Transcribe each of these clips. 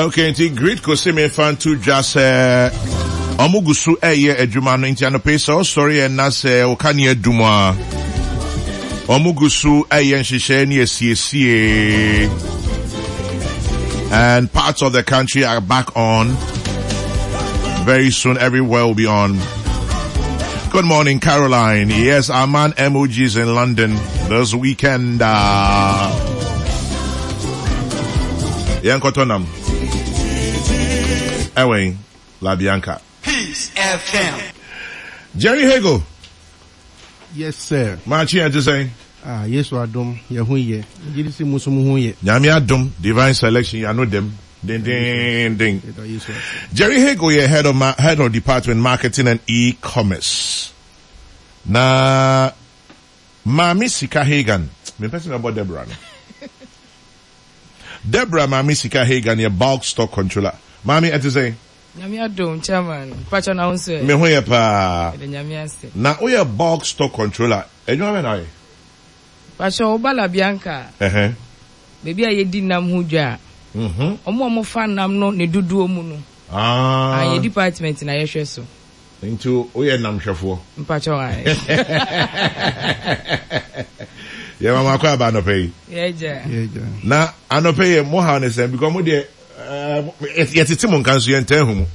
Okay, nti Gridco se mefa nto dwa sɛ ɔmo gu so ɛyɛ adwuma no nti anɔpa yi sɛ ɔsɔre yɛ na sɛ wo kanea dum a ɔmo gu so ɛyɛ nhyehyɛe ne asiesie and parts of the country are back on very soon everywhere will be on Good morning, Caroline. Yes, our man MOG is in London this weekend. Uh, yɛnkɔtɔ nam ɛwɛn La Bianca. Peace FM. Jerry Hagel. Yes sir. Maakye yɛn te sɛn? Ah, Yesu adom, yɛn ho yɛ. Megye di sɛ mo nso mo ho yɛ. Nyame adom, divine selection, yɛano dɛm dendenden. Yɛda Yesu ase. Jerry Hagel yɛ head of, ma head of department marketing and e-commerce. Na Maame Sika Hagan, mempɛ sɛ mɛbɔ Deborah no. Deborah Maame Sika Hagan yɛ bulk stock controller. Maame, ɛte sɛn? Nyame adom, Chairman. Mpakyɛ na wo nso ɛ? Me ho yɛ paa. Yɛda Nyame ase. Na woyɛ bulk stock controller, adwuma bɛn na woyɛ? Mpakyɛ wo ba La Bianca a, baabi a yɛdi nam ho dwa a, wɔn a wɔfa nam no ne dodoɔ mu no, yɛn department na yɛhwɛ so. Nti woyɛ namhwɛfoɔ? Mpakyɛw ae. Yɛ mama akɔ aba anɔpa yi. Yɛgya. Yɛgya. Na anɔpa yi mo haw ne sɛn because mo deɛ eh, yɛtete mo nka nso yɛntaa hu mo.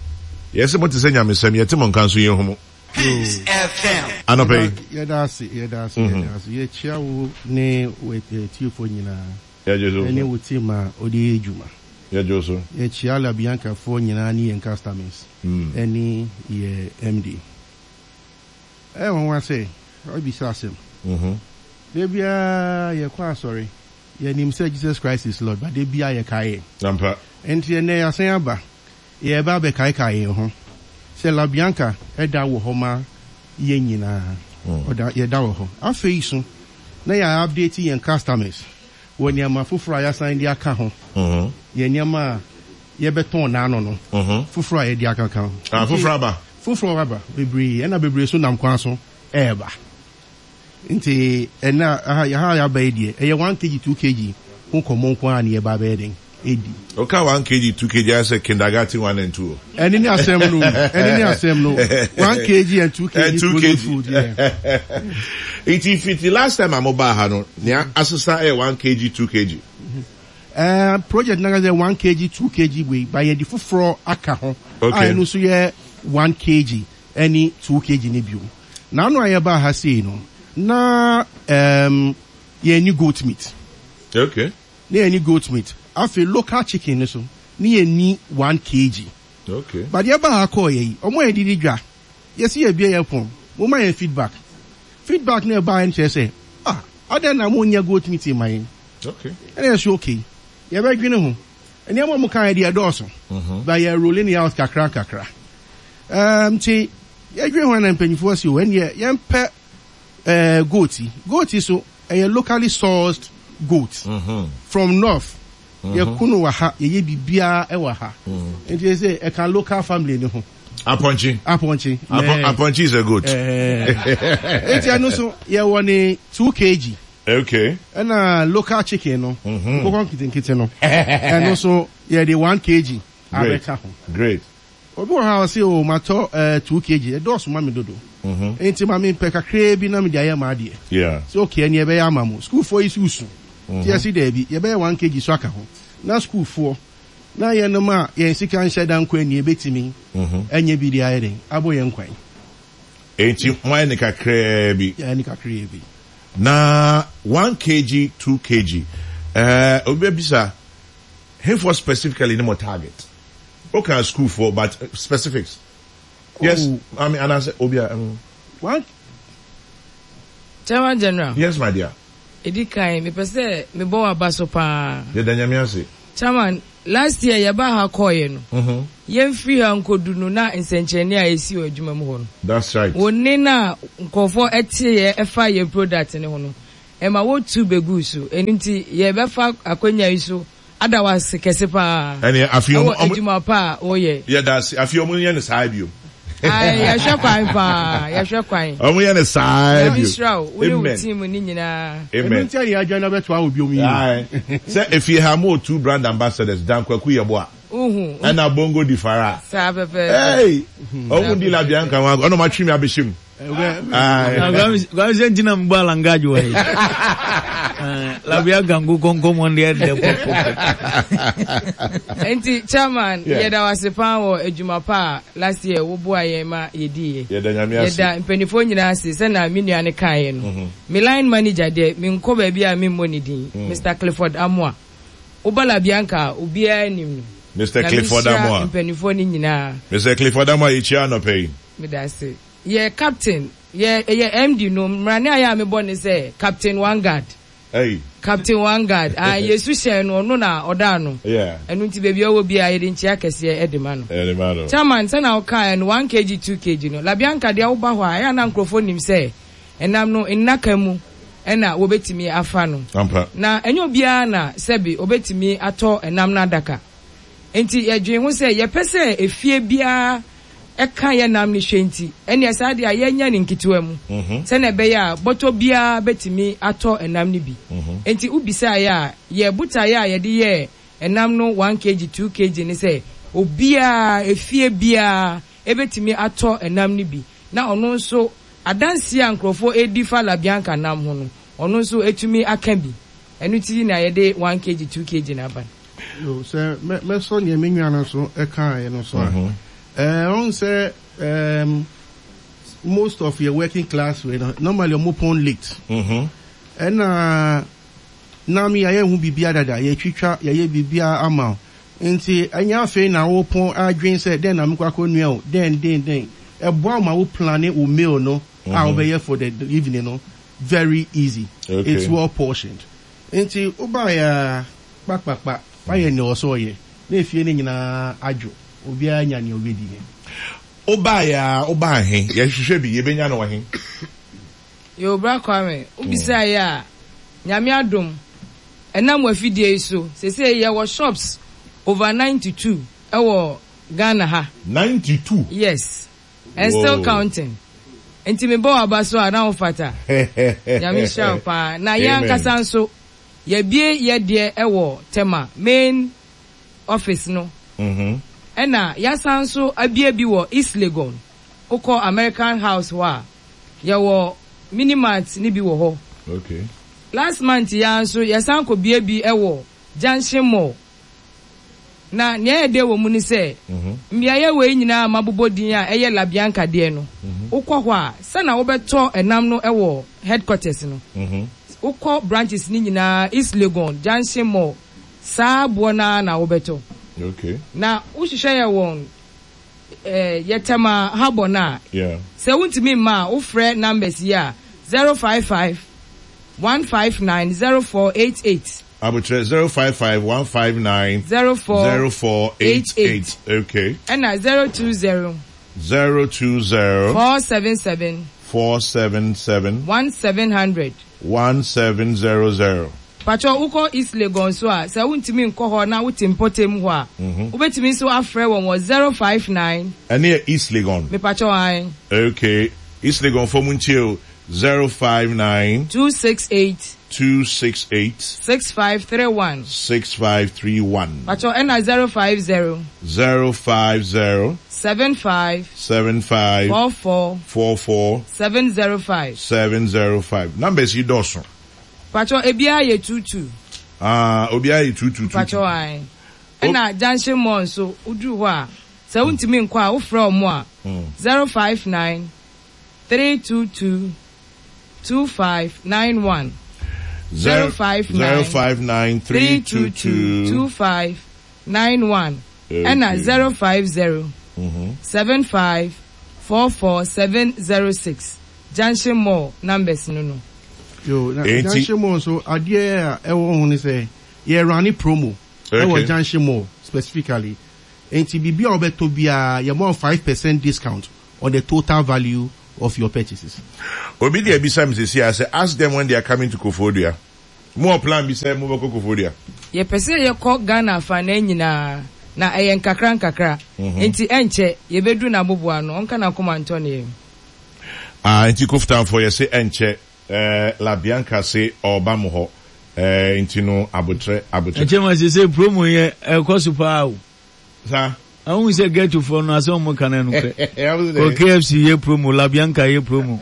Yɛse mo te sɛ nyamesɛm yɛte mo nka nso yɛnhu mo. Peace FM. Anɔpa yi. Yɛda ase, yɛda ase, yɛda ase. Yɛkyia wo ne w'atiefoɔ nyinaa. Yɛgye so. Ɛne wo team a wode yɛ adwuma. Yɛgye wo so. Yɛkyia La Bianca foɔ nyinaa ne yɛn customers ɛne yɛ MD. Ɛyɛ nwanwa sɛ wabisa asɛm. Da biara yɛkɔ asɔre, yɛnim sɛ Jesus Christ is Lord but da biara yɛkae yɛn. Ampa. Nti ɛnnɛ yɛasan aba, yɛreba abɛkaekae yɛn ho sɛ La Bianca da wɔ hɔ ma yɛn nyinaa. Ɔda, yɛda wɔ hɔ. Afei so na yɛ update yɛn customers wɔ nneɛma foforɔ a yɛasan de aka ho, yɛn nneɛma a yɛbɛtɔn n'ano no, foforɔ a yɛde akaka ho. Ah, foforɔ aba? Foforɔ aba, bebree, ɛna bebree nso nam kwan so ɛreba. Nti ɛnɛ aha ha yɛaba yi deɛ, ɛyɛ 1 kg, 2 kg ho nkɔmmɔ nko ara na yɛba abɛyɛ dɛn? Ɛdi. Woka 1 kg, 2 kg ayɛ sɛ kindergarten 1 and 2 o. Ɛne ne asɛm no o, ɛne ne asɛm no, 1 kg and 2 kg frozen food, yeah. Nti fiti last time a mobaa ha no, nea asesa yɛ 1 kg, 2 kg? Eh, project no ankasa yɛ 1 kg, 2 kg wei, but yɛde foforɔ aka ho a ɛno nso yɛ 1 kg ɛne 2 kg no bio. N'ano a yɛbaa ha sei no, na um, yɛnni goat meat. Okay. Na yɛnni goat meat. Afei local chicken no so, ne yɛnni 1 kg. Okay. But yɛbaa ha kɔɔ yɛ yi, wɔn a yɛde di dwa, yɛsi yɛbue yɛn pon, momma yɛn feedback. Feedback no a ɛbaeɛ no kyerɛ sɛ, ah, adɛn na monyɛ goat meat mma yɛn? Okay. Ɛna yɛsi okay, yɛbɛdwene ho. Nneɛma a wɔkaeɛ deɛ ɛdɔɔso, but yɛ rolling it out kakra nkakra. Um, nti yɛdwene ho na mpanyinfoɔ si o, ɛnneɛ yɛmpɛ eh, goat yi. Goat yi so, ɛyɛ locally sourced goat from north. Yɛko no wɔ ha, yɛyɛ biribiara wɔ ha. Nti yɛ sɛ ɛka local family no ho. Apɔnkye. Apɔnkye. Apɔnkye is a goat. Nti ɛno so yɛwɔ ne 2 kg. Okay. Ɛna local chicken no, nkokɔ nketenkete no, ɛno so yɛde 1 kg abɛka ho. Great. Obi wɔ hɔ a ɔse oh matɔ eh, 2 kg, ɛdɔɔso ma me dodo. Nti ma mempɛ kakraa bi na mede ayɛ m'adeɛ. Yeah. Sɛ okay ɛneɛ ɛbɛyɛ ama mo. Sukuufoɔ yi so su. Nti yɛse daabi, yɛbɛyɛ 1 kg so aka ho. Na sukuufoɔ, na yɛnom a yɛn sika nhyɛ da nkɔ ani yɛbɛtumi anya bi de ayɛ dɛn? Abɔ yɛn kwan. Enti moayɛ no kakraa bi. Yɛayɛ no kakraa bi. Na 1 kg, 2 kg, eh, obi bɛbisa, hefoɔ specifically ne mo target? Wokaa sukuufoɔ but specifics. Yes, Oh. maame anaasɛ obi a. One. Chairman General. Yes, my dear. Edi kan, mepɛ sɛ mebɔ w'aba so paa. Yɛda Nyame ase. Chairman, last year yɛbaa ha kɔɔeɛ no, yɛmfiri ha nkɔdu no na nsɛnkyerɛnne a ɛsii wɔ adwuma mu hɔ no, That's right. wo nne no a nkurɔfoɔ teeɛ ɛfa yɛn product no ho no, ɛma wotu bɛguu so. Ɛno nti yɛbɛfa akwanya yi so ada wo ase kɛse paa Ɛneɛ afei ɛwɔ ɔmo ɔmo adwuma pa a woyɛ. Yɛda ase. Afei ɔmo nyɛ no saa bio. Ae, yɛhwɛ kwan paa, yɛhwɛ kwan. Ɔmo yɛ no saa Nyame bio. nhyira wo, wo ne wo Amen. team no nyinaa. Ɛno Amen. nti a yɛadwane abɛtoa wo biom yi o. Ae. Sɛ efie ha mo wɔ two brand ambassadors, Dan Kwaku Yeboah. Wohu. Ɛna Bongo di Fara. Saa pɛpɛɛpɛ. Hey! Ɔmo di La Bianca ho agorɔ, ɛna ɔmo atwe me abɛhyɛ mu. Kwame sɛ nti na mebɔ alangage wɔ he. La Bianca nkokɔ nkɔmmɔ deɛ dɛ pɔpɔpɔ. Nti chairman yɛda wo ase paa wɔ adwuma pa a last year wo boa yɛn ma yɛdiiɛ. Yɛda Nyame ase. Yɛda mpaninfoɔ nyinaa ase sɛnea me nua no kaeɛ no. Me line manager deɛ menkɔ baabi a memmɔ ne din, Mister Clifford Amoah. Woba La Bianca a, obiara nim no. Mister Nyame Clifford nhyira Amoah. mpaninfoɔ no nyinaa. Mister Clifford Amoah yɛkyia anɔpa yi. Medase. Yɛ captain, yɛ yɛ MD no, mmrane a yɛ a mebɔ ne sɛ Captain One Guard. Ei. Captain One Guard, ah Yesu hyɛn no, ɔno na ɔda ano. Yeah. Ɛno nti baabi a ɔwɔ biara yɛde nkyia kɛseɛ de ma no. Yɛde ma no. Chairman, sɛnea wokaeɛ no, one kg, two kg no, La Bianca deɛ woba hɔ a, ɛyɛ a na nkurɔfoɔ nim sɛ ɛnam no nnaka mu na wɔbɛtumi afa no. Ampa. Na ɛnyɛ obiara na sɛbe ɔbɛtumi atɔ ɛnam no adaka. Enti yɛdwen ho sɛ yɛpɛ sɛ efie biara ka yɛn nam no hwɛ nti, ɛnneɛ saa deɛ a yɛnyɛ no nketewa mu sɛdeɛ ɛbɛyɛ a bɔtɔ biara bɛtumi atɔ ɛnam no bi. Enti wobisaeɛ a, yɛn botaeɛ a yɛde yɛɛ ɛnam no one kg, two kg ne sɛ obiara, efie biara bɛtumi atɔ ɛnam no bi na ɔno nso adanseɛ a nkurɔfoɔ redi fa La Bianca nam ho no, ɔno nso atumi aka bi. Ɛno nti na yɛde one kg, two kg no aba no. Yo, sɛ mɛ mɛsɔ nea me nua no nso kaeɛ no so a, ɛɛ ɔn sɛ ɛɛm most of yɛ working class wei no normally ɔmo pɔn late. Ɛna nam yɛayɛ ho biribiara dada, yɛtwitwa, yɛayɛ biribiara ama wo. Nti ɛnyɛ afei na wopɔn adwen sɛ dɛn na mekɔ akɔnua o, dɛn dɛn dɛn. Ɛboa wo ma wo plane wo meal no a wobɛyɛ for the evening no very easy. It's well portioned. Nti wobaeɛ a kpakpakpa, wayɛ nea ɔwɔ sɛ ɔyɛ, na efie no nyinaa adwo, obiara anya nea obedi. Wobaeɛ ara, wobaa he? Yɛhwehwɛ bi, yɛbɛnya no wɔ he? Yoo bra Kwame, wobisaeɛ a, Nyame adom, ɛnam w'afidie yi so, seesei yɛwɔ shops over 92 wɔ Ghana ha. 92? Yes, and still counting. Nti mebɔ w'aba so a, na wo fata. Nyame nhyira wo paa. Na yɛn ankasa nso, Yɛabue yɛ deɛ wɔ Tema main office no ɛna yɛasan nso abue bi wɔ East Legon. Wokɔ American House hɔ a, yɛwɔ mini mart no bi wɔ hɔ. Last month yi ara nso yɛsan kɔbue bi wɔ Junction Mall. Na nea ɛyɛ dɛ wɔ mu ne sɛ, mmeaeɛ wei nyinaa a mabobɔ din a ɛyɛ La Bianca deɛ no, wokɔ hɔ a, sɛnea wobɛtɔ ɛnam no wɔ headquarters no, wokɔ branches no nyinaa, East Legon, Junction Mall, saa boɔ no ara na wobɛtɔ. Na wohwehwɛ yɛ wɔn yɛ Tema Harbour no a, sɛ wontumi mma a, wofrɛ numbers yi a, 055 159 0488. Abokyerɛ 055 159 0488 okay. Ɛna 020. 020. 477. 477. 1700. 1700. Pakyɛw wokɔ East Legon nso a, sɛ wontumi nkɔ hɔ na wote mpɔtam hɔ a, wobɛtumi nso afrɛ wɔn wɔ 059. Ɛno yɛ East Legon? Mepakyɛw ae. Okay, East Legon foɔ montie o, 059. 268. 268. 6531. 6531. Pakyɛw ɛna 050. 050. 75. 75. 44. 44. 705. 705. Numbers yi dɔɔso. Pakyɛw ebiara yɛ 22. Ah, obiara yɛ 22. Pakyɛw ae. Ɛna Junction Mall nso, woduru hɔ a, sɛ wontumi nkɔ a, wofrɛ wɔn a, 059 322 2591. 059 322 2591. Ɛna 050 75 44 706. Junction Mall numbers no no. Yo, na Junction Mall nso adeɛ a ɛwɔ ho ne sɛ yɛ runne promo ɛwɔ Junction Mall specifically. Nti biribi a wobɛtɔ biara yɛma wo 5% discount on the total value of your purchases. Obi de abisa me sɛsi ara sɛ ask them when they are coming to Koforidua. Mo wɔ plan bi sɛ mo bɛkɔ Koforidua? Yɛpɛ sɛ yɛkɔ Ghana afanaa nyinaa, na ɛyɛ nkakra nkakra, enti ɛnkyɛ yɛbɛduru n'aboboano. Ɔnka n'akoma ntɔ ne yam. Ah, enti Koftanfoɔ yɛse ɛnkyɛ eh, La Bianca se ɔɔba mo hɔ eh, enti no abotrɛ, abotrɛ. Ɛkyɛ ma sesei promo yɛ ɛkɔ so paa o. Saa. Ahu sɛ ghetto foɔ no asɛm ɔmo ka no ɛnokorɛ. Kɔ KFC yɛ promo, La Bianca yɛ promo.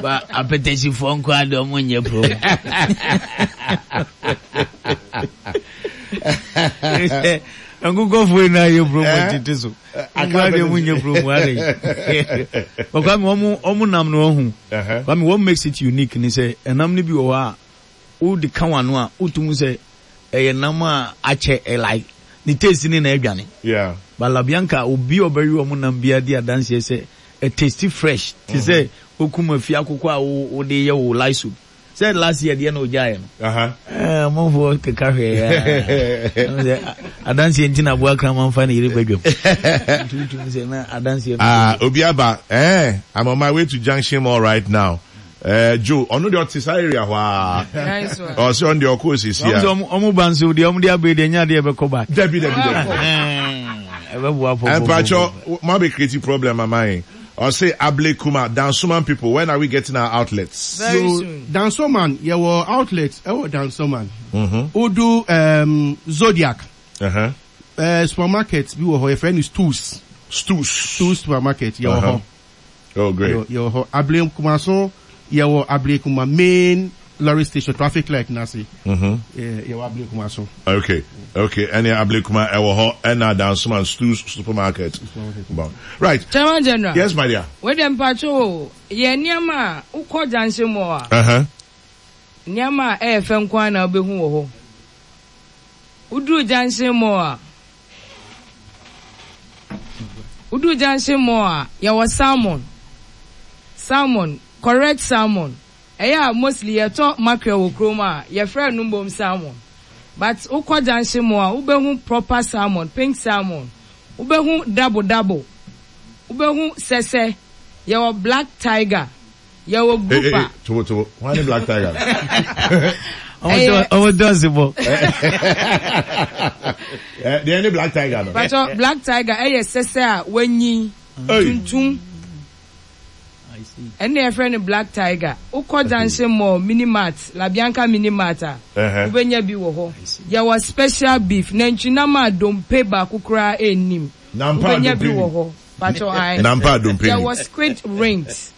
Ba apɛtɛsi foɔ nko ara deɛ ɔmo nyɛ promo. Nkokɔfoɔ nyinaa yɛ promo tete so. Nko ara deɛ ɔmo nyɛ promo adɛ. But Kwame ɔmo ɔmo nam no ɔho. Kwame what makes it unique ne sɛ ɛnam no bi wɔ hɔ a Wode ka w'ano a wotum hu sɛ ɛyɛ nam a akyɛ ɛ like ne taste ne na adwane. Yeah. But La Bianca obi a ɔbɛwe wɔn nam biara di adanseɛ sɛ ɛ taste fresh te sɛ wokum afie akokɔ a wo wode yɛ wo light soup. Sɛ last year deɛ na ogyaeɛ no. Aha. Ɛɛ amanfoɔ keka hwɛɛ aa. Ɛmu sɛ adanseɛ nti na aboa kraman fa ne yere badwam. Nti wotum sɛ na adanseɛ no. Ah obi aba eh I'm on my way to Junction Mall right now. Eh, Joe, ɔno deɛ ɔte saa area hɔ aa. Nice one. Ɔsɛ ɔno deɛ ɔkɔ osisi a. Ɔmo sɛ ɔmo ba nso deɛ ɔmo de abere deɛ nyɛ adeɛ ɛbɛkɔ back. Dabi dabi dabi. Ɛbɛboa pɔpɔpɔ. Mpatsɔ, mo abɛ create problem ama yɛn. Ɔsɛ Able Kuma, Dansoman people, when are we getting our outlets? Very So soon. Dansoman, yɛwɔ outlet ɛwɔ Dansoman. Wodu um, Zodiac Uh-huh. eh, supermarket bi wɔ hɔ yɛfrɛ no Stews. Stews. Stews supermarket yɛwɔ Uh-huh. hɔ. Oh great. Yɛwɔ hɔ. Ablekuma so yɛwɔ Ablekuma main lorry station traffic light n'ase. Yɛwɔ Ablekuma so. Okay okay ɛne Ablekuma ɛwɔ hɔ ɛna Dansoman Stews supermarket. Right. Chairman General. Yes my dear. Wei deɛ mpakyɛw o, yɛ nneɛma a wokɔ junction mall a. Uh-huh. Nneɛma a ɛyɛ fɛ nko ara na wobɛhu wɔ hɔ. Woduru junction mall a. Wodu junction mall a, yɛwɔ salmon, salmon, correct salmon. Ɛyɛ a mostly yɛtɔ mackerel wɔ kurom a, yɛfrɛ no mmom salmon. But wokɔ junction mall a, wobɛhu proper salmon, pink salmon. Wobɛhu dabo dabo, wobɛhu sɛsɛ, yɛwɔ black tiger. Yɛwɔ Hey, group hey, a. tobo tobo. Why ni black tiger? Ɛyɛ. Ɔmo dɔnsi bɔ. Deɛ ni black tiger no. Patro black tiger ɛyɛ sɛsɛ a wanyin tuntum. Ɛnna yɛfrɛ no black tiger. Wokɔ Junction Mall, Mini Mart, La Bianca Mini Mart a, wobɛnya bi wɔ hɔ. Yɛwɔ special beef, nantwinam a dompe baako koraa nnim. Wobɛnya bi wɔ hɔ. Mpakyɛw ae. Nampa dompe ni. Yɛwɔ squid rings.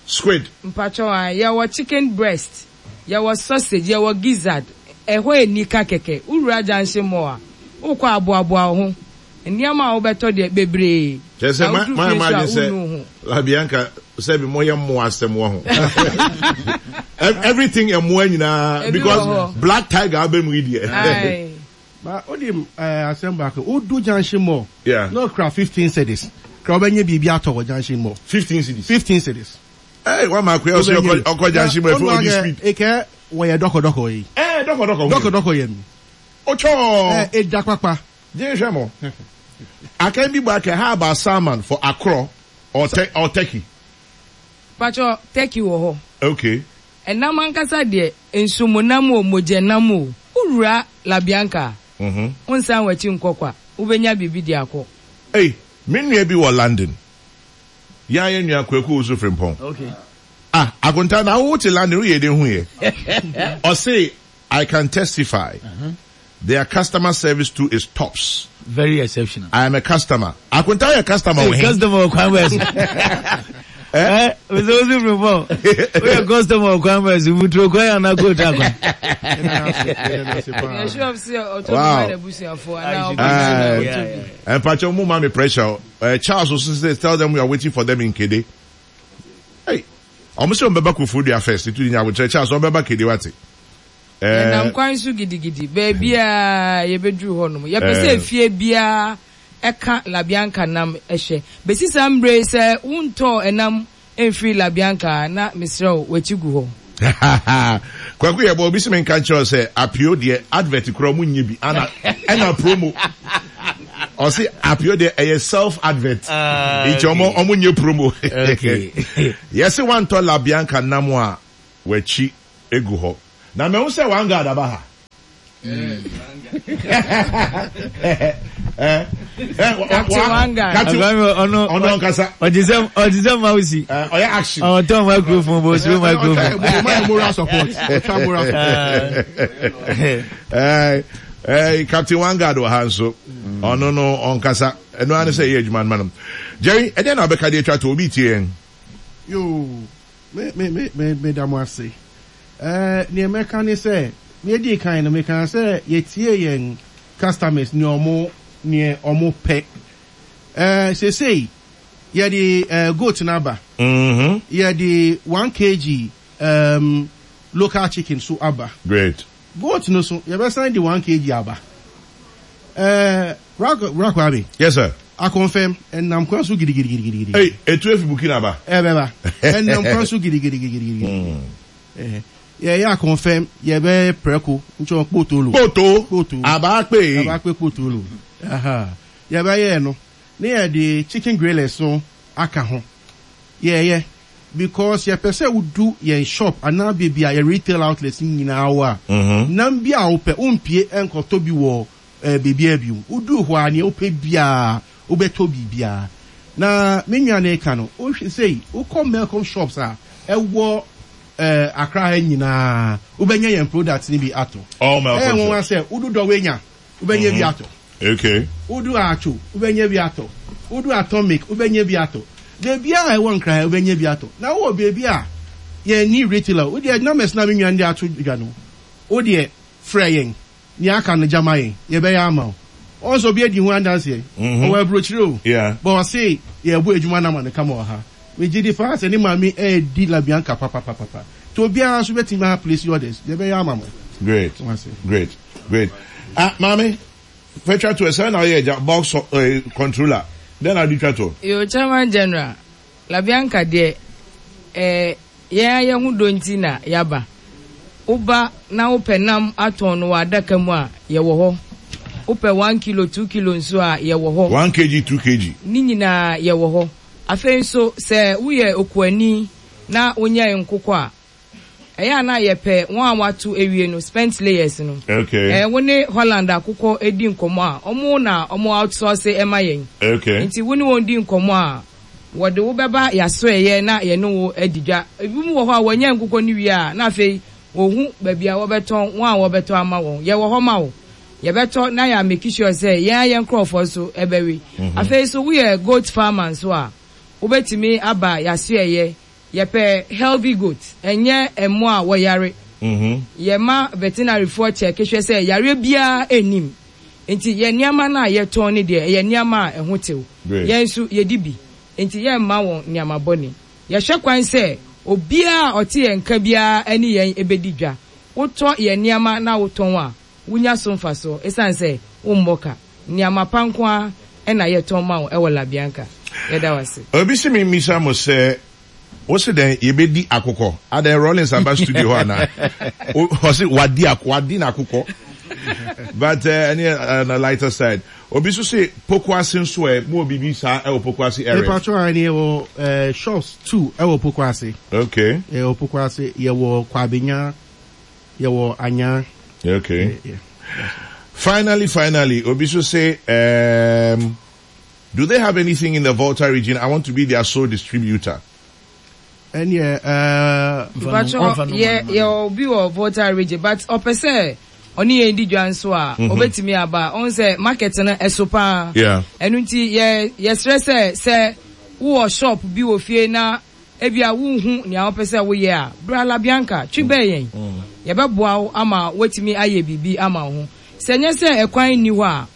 Squid. Mpakyɛw ae. Yɛwɔ chicken breast. Yɛwɔ sausage. Yɛwɔ gizzard. Ɛhɔ anika kɛkɛ. Wo wura junction mall a, wokɔ a boaboa wo ho. Nneɛma a wobɛtɔ deɛ, bebree. Kyerɛ sɛ Na ma woduru ma fie nso a, imagine sɛ wonnu wo ho. Labianca sɛbi moyɛ mmoa asɛm wɔ ho. Everything mmoa nyinaa Ebi wɔ because hɔ. black tiger aba mu yi deɛ. Ae. Ba wonim eh, asɛm baako, wodu junction mall Yeah. na ɔkura 15 cedis, kra wobɛnya biribi atɔ wɔ junction mall. 15 cedis. 15 cedis. Hey, wa ma akua ɔsɛ ɔkɔ ɔkɔ junction mall ɛfɛ odi speed. Ekɛ wɔyɛ dɔkɔdɔkɔ yi. Eh, dɔkɔdɔkɔ. Dɔkɔdɔkɔ yɛ mi. Otwɔ. Eh, edwa kpakpa. Gye hwɛ mo. Akan bi bɔ akɛ, how about salmon for akorɔ or, or turkey? Pacho, turkey wɔ hɔ. Okay. Ɛnam ankasa deɛ, nsomonam o, mogyanam o, wowura La Bianca a, wonsan w'akyi nkɔ kwa, wobɛnya biribi de akɔ. Ei, me nua bi wɔ London. Yɛn ara yɛn nua Kwaku Owusu Frimpong. Okay. Ah, Akonta, na wo te London, woyɛ dɛn huiɛ? Ɔse, I can testify. Their customer service too is tops. Very exceptional. I am a customer. Akonta yɛ customer wɔ he? Customer wɔ kwan bɛɛ so. Eh, Mr. Osu Frimpong, woyɛ customer wɔ kwan bɛɛ so, muturo kwan anaa kootu akwan? Yɛ sure sɛ ɔtɔ bi ma n'abusuafoɔ anaa ɔbɔ na ɔtɔ bi. Mpakyɛ mo ma me pressure. Charles also says tell them we are waiting for them in Kede. Hey, ɔmo sɛ ɔmo bɛba Koforidua first. Itu di nyabotrɛ Charles ɔmo bɛba Kede wate. Yɛnam kwan so gidigidi. Baabiara a yɛbɛduru hɔnom, yɛpɛ sɛ efie biara ka La Bianca nam hwɛ. Bɛsi saa mmerɛ yi, sɛ wontɔɔ ɛnam mfirii La Bianca a, na mesrɛ wo, w'akyi gu hɔ. Kwaku yɛbɔ obi se menka nkyerɛ wo sɛ apio deɛ advert koraa ɔmo nyɛ bi ana ɛna promo ɔse apio deɛ ɛyɛ self advert nti ɔmo ɔmo nyɛ promo yɛse wantɔ La Bianca nam a w'akyi egu hɔ. Na mahu sɛ one guard aba ha. Captain one guard. Captain ɔno ɔno ankasa. Ɔte sɛ ɔte sɛ mausi. Ɔyɛ action. Ɔtɔn microphone bɔ osuro microphone. Ɔtwa moral support. Ɔtwa moral support. Eh, Captain Wangard wɔ ha nso. Ɔno no ɔnkasa. Ɛno ara ne sɛ ɛyɛ adwuma no ma no. Jerry, ɛdeɛn na wobɛka de atwa to? Obi retie yɛn. Yoo, me, me, me, me, meda mo ase. Eh, nea mɛka ne sɛ, nea edi kan no, mekaa sɛ yɛtie yɛn customers nea ɔmo, nea ɔmo pɛ. Eh, seesei, yɛde eh, goat no aba. Yɛde 1 kg um, local chicken so aba. Great. Goat no so, yɛbɛsan de 1 kg aba. Eh, Bra Bra Kwame. Yes sir. Akɔnfɛm, ɛnam kwan so gidigidigidigidi. Ei, etu efi Burkina ba. Ɛbɛba. Ɛnam kwan so gidigidigidigidi. Eh, yɛyɛ akɔnfɛm, yɛbɛyɛ prɛko, nkyɛn kpotolo. Kpoto. Kpoto. Abaakpe. Abaakpe kpotolo. Aha. Yɛbɛyɛ no, ne yɛde chicken grillers no aka ho. Yɛyɛ because yɛpɛ sɛ wodu yɛn shop anaa baabi a yɛn retail outlets no nyinaa wɔ a, nam bi a wopɛ, wompue nkɔtɔ bi wɔ baabiara bio. Woduu hɔ a, nea wopɛ biara, wobɛtɔ biribiara. Na me nua no reka no, wohwɛ sei, wokɔ Melcom shops a ɛwɔ Accra ha nyinaa, wobɛnya yɛn products no bi atɔ. All Melcom Ɛyɛ nwonwa shops. sɛ wodu Dɔwenya, wobɛnya bi atɔ. Okay. Wodu Atwo, wobɛnya bi atɔ. Wodu Atomic, wobɛnya bi atɔ. Baabiara a ɛwɔ Nkran ha, wobɛnya bi atɔ. Na wowɔ baabi a yɛnni retailer, wo deɛ numbers no a me nua no de ato dwa no, wo deɛ frɛ yɛn. Nea aka no gya ma yɛn, yɛbɛyɛ ama wo. Woahu sɛ obi adi ho adanseɛ? Ɔwɔ aburokyire o, but ɔse yɛrebɔ adwuma no ama no kama wɔ ha. Megye di paa sɛ ne maame redi Labianca papapapapa. Nti obiara nso bɛtumi a place orders, yɛbɛyɛ ama mo. Great, great, great. Ah, maame, fa twa toɔ, sɛn na woyɛ agya, box eh, controller, dɛn na wode twa toɔ? Yo, Chairman General, Labianca deɛ, eh, Yɛn ara yɛn ho dɔ nti na yɛaba. Woba na wopɛ nam atɔn no wɔ adaka mu a, yɛwɔ hɔ. Wopɛ one kilo, two kilo nso a, yɛwɔ hɔ. One kg, two kg. Ne nyinaa yɛwɔ hɔ. Afei nso, sɛ woyɛ okuani na wonyɛn nkokɔ a, ɛyɛ a na yɛpɛ wɔn a wɔato awie no, spent layers no. Okay. Ɛɛ, wo ne Holland akokɔ di nkɔmmɔ a, wɔn na wɔn outsource ma yɛn. Okay. Nti wo ne wɔn di nkɔmmɔ a, Wɔde wo bɛba y'asoɛeɛ na yɛne wo adi dwa. Ebinom wɔ hɔ a wɔnya nkokɔ no wie a, na afei wɔhu baabi a wɔbɛtɔn, wɔn a wɔbɛtɔ ama wɔn. Yɛwɔ hɔ ma wo. Yɛbɛtɔ na yɛ ameki sure sɛ yɛn ara yɛn nkorɔfoɔ nso bɛwe. Afei nso woyɛ goat farmer nso a, wobɛtumi aba y'asoɛeɛ. Yɛpɛ healthy goat, ɛnyɛ mmoa a wɔyare. Yɛma veterinary-foɔ kyɛke hwɛ sɛ yareɛ biara nnim. Nti yɛn nneɛma no a yɛtɔn no deɛ, ɛyɛ nneɛma a ɛho tew. Yɛn nso, yedi bi, enti yɛremma wɔn nneɛma bɔne. Yɛhwɛ kwan sɛ obiara a ɔte yɛn nka biara ne yɛn bedi dwa. Wotɔ yɛn nneɛma na wotɔn a, wunya so mfaso esiane sɛ wommɔ ka. Nneɛma pa nko ara na yɛtɔn ma wo wɔ La Bianca. Yɛda wo ase. Obi se memmisa mo sɛ Wo se dɛn? Yɛbɛdi akokɔ? Adɛn Rawlings aba studio hɔ anaa? Ɔse wadi ak wadi n'akokɔ. But eh, ɛne eh, on the lighter side. Obi nso se Pokuase nso ɛ, mo wɔ biribi saa ɛwɔ Pokuase area? Mepatro a ɛne yɛwɔ eh, shops two ɛwɔ Pokuase. Okay. Yɛwɔ Pokuase, yɛwɔ Kwabenya, yɛwɔ Anyaa. Okay. Yeah, yeah. Finally, finally, obi nso se um, Do they have anything in the Volta region? I want to be their sole distributor. Ɛneɛ ɛɛ. Mpatsɔ yɛ yɛ obi wɔ Volta region but ɔpɛ sɛ ɔne yɛn di dwa nso a ɔbɛtumi aba. Ɔhu sɛ market no ɛso paa. Ɛno nti yɛ yɛsrɛ sɛ sɛ wowɔ shop bi wɔ fie na Ebia wunhu nea wopɛ sɛ woyɛ a, bra La Bianca, twe bɛn yɛn. Yɛbɛboa wo ama woatumi ayɛ biribi ama wo ho. Sɛ ɛnyɛ sɛ ɛkwan nni hɔ a,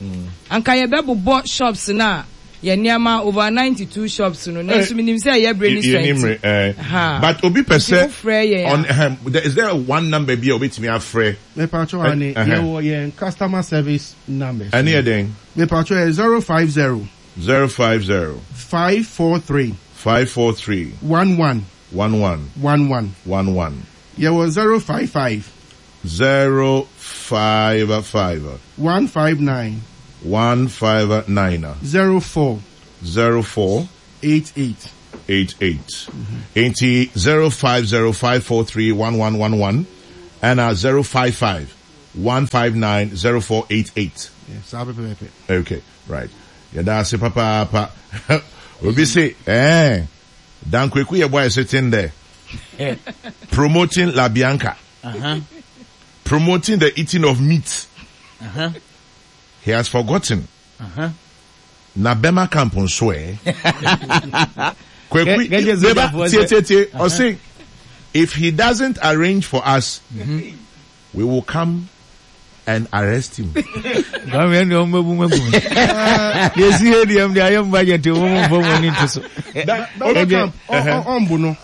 anka yɛbɛbobɔ shops no a yɛn nneɛma, over 92 shops no, nanso minim sɛ ɛyɛ bere ne sua nti. Ha, But obi pɛ nti sɛ wofrɛ yɛn ɔn a. ɛhɛn, there- is there one number bi a obetumi afrɛ? Mepatwɔ ane, Ɛhɛn. yɛwɔ yɛn customer service numbers Ɛne no. yɛ dɛn? Mepatwɔ yɛ 050. 050. 543. 543. 11. 11. 11. 11. Yɛwɔ 055. 055. 159. 159. 04. 04. 88. 88. Enti 0505431111 ɛna 055 159 0488. Yeah, saa pɛpɛɛpɛ. Okay. Right yɛda ase papaapa obi se eh Dan Kweku Yeboah is sitting there promoting La Bianca uh -huh. promoting the eating of meat. He has forgotten. Na bɛma camp nso ɛ. Kwaku, meba, tie tie tie, ɔse if he doesn't arrange for us, we will come and arrest him. Kwame ɛnna ɔmo bɛbu mu agu mi. Yɛsi yɛ deɛ ɛmu de ayɛ mu budget ɔmo mu nfɔ mu ani nto so. Bɛma camp ɔmbo no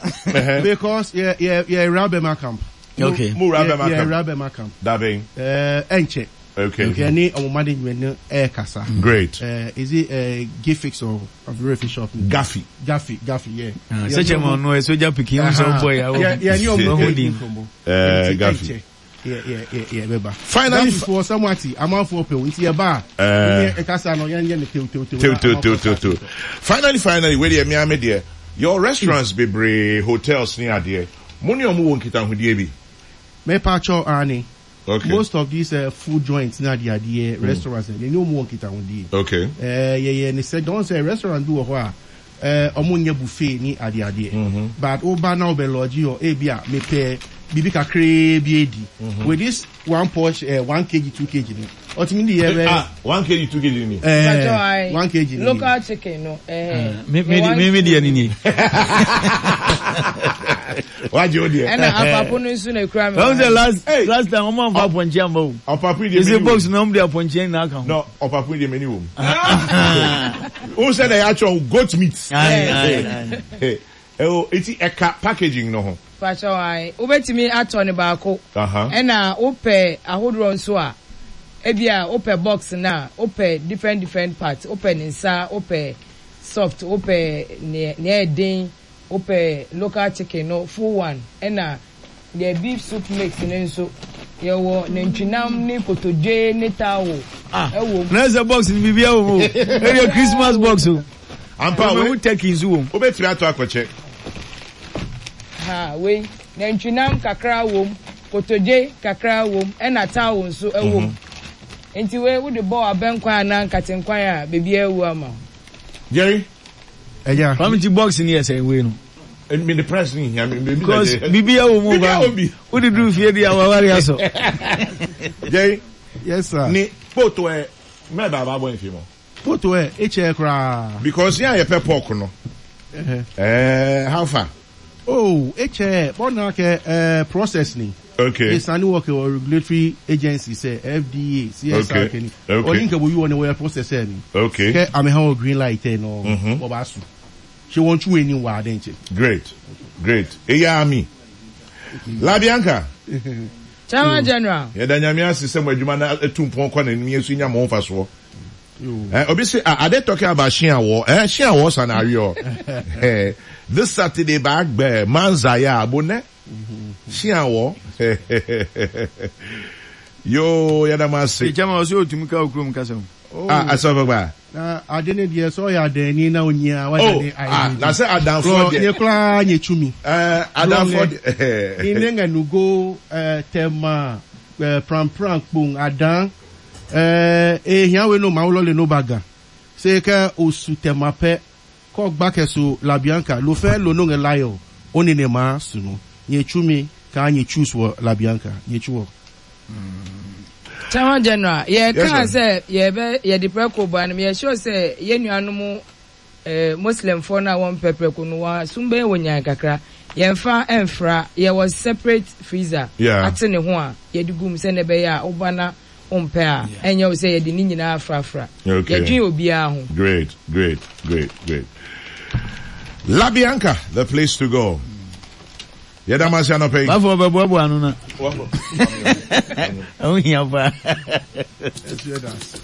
because yɛ yɛ yɛ wura bɛma camp. Okay. Mo wura bɛma camp. Yɛ wura bɛma camp. Dabɛn. Ɛɛ ɛnkyɛ. Okay. Yɛne ɔmo management no ɛɛkasa. Great. Uh, is it uh, Gifix or Averefi shop? Gaffy. Gaffy, Gaffy, yeah. Ah, sɛ kyɛ ma ɔno ɛsogya pikin ɔmo sɛ ɔbɔ ya. Yeah, yeah, ni ɔmo ɛdi nkɔmɔ. Eh, Gaffy. Yeah, yeah, yeah, yeah, bɛba. Finally, Gaffy for Samuati, amanfoɔ pɛw nti ɛba a. Eh. Ɛkasa no yɛn yɛ ne tew tew tew. Tew tew tew tew tew. Finally, finally, wei deɛ mmea me deɛ, your restaurants bebree, hotels ne adeɛ, mo ne ɔmo wɔ nkitahodie bi. Mepa kyɛw aane. Okay. Most of these uh, food joints na adeɛ adeɛ mm. restaurants yɛn ne ɔmo wɔ nkitahodie. Okay. Eh, yɛyɛ ne sɛ don sɛ restaurant bi wɔ hɔ a eh, ɔmo nyɛ buffet ne adeɛ adeɛ. Mm-hmm. But woba na wobɛ lodge hɔ ebi a mepɛ biribi kakraa bi edi. Mm-hmm. With this one portion eh, 1 kg 2 kg no ɔtumi de yɛ bɛ. Ah, 1 kg 2 kg ni. Eh, 1 kg ni. Local chicken no. Eh, mi mi mi mi deɛ ni ni. Wagye o deɛ. Ɛna apapo no nso na ekura mi. Wɔn sɛ last last time wɔn anfa apɔnkye amba o. Ɔpapo yi deɛ mɛ ni Ese wɔ mu. box na wɔn de apɔnkye na aka ho. No, ɔpapo yi deɛ mɛ ni wɔ mu. O sɛ na yɛ atwere goat meat. Ayi ayi ayi. Ɛwɔ eti ɛka packaging no ho. Pakyɛw ae, wobɛtumi atɔ no baako, ɛna wopɛ ahodoɔ nso a, ebia wopɛ box no a, wopɛ different different parts, wopɛ ne nsa, wopɛ soft, wopɛ nea nea ɛyɛ den, wopɛ local chicken no full one, ɛna deɛ beef soup mix no nso, yɛwɔ nantwinam ne kotodwe ne towel ɛwɔ mu. Na sɛ box no biribiara wɔ mu o, ɛyɛ Christmas box o. Ampa wei turkey nso wɔ mu. Wobɛtumi atɔ akɔkyɛ. Ha wei nantwinam kakra wom, kotodwe kakra wom, ɛna towel nso wɔ mu. Nti wei wode bɔ abɛnkwan anaa nkatenkwan a biribiara awu ama wo. Jerry. Ɛya. Kwame ti box ni yɛ sɛn wei no. Mi de price ni hia mi. Because biribiara wɔ mu o. Wode duru fie di a wawari asɔ. Jerry. Yes sir. Ni kpoto ɛ mɛ baaba bɔ nfi mu. Poto ɛ ekyɛ koraa. Because yɛn a yɛpɛ pork no. Ɛɛ how far? Oh ekyɛ bɔ na kɛ ɛɛ process ni. Okay. Esani work wɔ regulatory agency sɛ FDA, CSR kɛ ni. Okay. Ɔni nkɛ bo yi wɔ ni wɔyɛ process ɛ ni. Okay. Kɛ ame ha wɔ green light ɛ no. Wɔ ba su. Ṣe wɔn tún wɔ ni wɔ adɛn kyɛ. Great. Great. Eya ami. Labianca. Chairman General. Yɛda Nyame ase sɛ mo adwuma no atu mpɔn kɔ n'anim yɛn nso nya mo ho mfasoɔ. Eh, obi say, ah, are they talking about Shiawo? Eh, Shiawo scenario. Eh, this Saturday back there, Manzaya, Abone. Shiawo. Yo, yɛda mo ase. Chairman, ɔsɛ otumi ka okurom kasa o. Ah, asɔfo gba. Na ade ne deɛ sɛ ɔyɛ adanni na onyia wagya ne Oh, ah, na sɛ adanfoɔ deɛ. Nye koraa nye tumi. Eh, adanfoɔ deɛ. Ni ne nga nugo eh, tɛma eh, prampran kpong adan eh, ehia we no ma wulɔ le no baga. Se kɛ osu tɛma pɛ kɔ gba kɛ so la bianca lo fɛ lo no nge layo oni ne ma sunu. Nye tumi ka nye choose wɔ la bianca nye chu wɔ. Chairman General, yɛ Yes, kaa ma'am. sɛ yɛbɛ yɛde prɛko ba no, yɛ sure sɛ yɛn nuanom eh, Muslimfoɔ no a wɔmpɛ prɛko no, wɔn asom bɛyɛ wɔn nyan kakra. Yɛmfa mfra, yɛwɔ separate freezer Yeah. ate ne ho a yɛde gu mu sɛnea ɛbɛyɛ a woba na wompɛ a, ɛnyɛ wo sɛ yɛde ne nyinaa frafra. Okay. Yɛdwen obiara ho. Great, great, great, great. La Bianca, the place to go. Yɛda mo ase anɔpa yi. Bafo ɔbɛboaboa ano na. Ɛho hia paa. Ɛso yɛ da ase.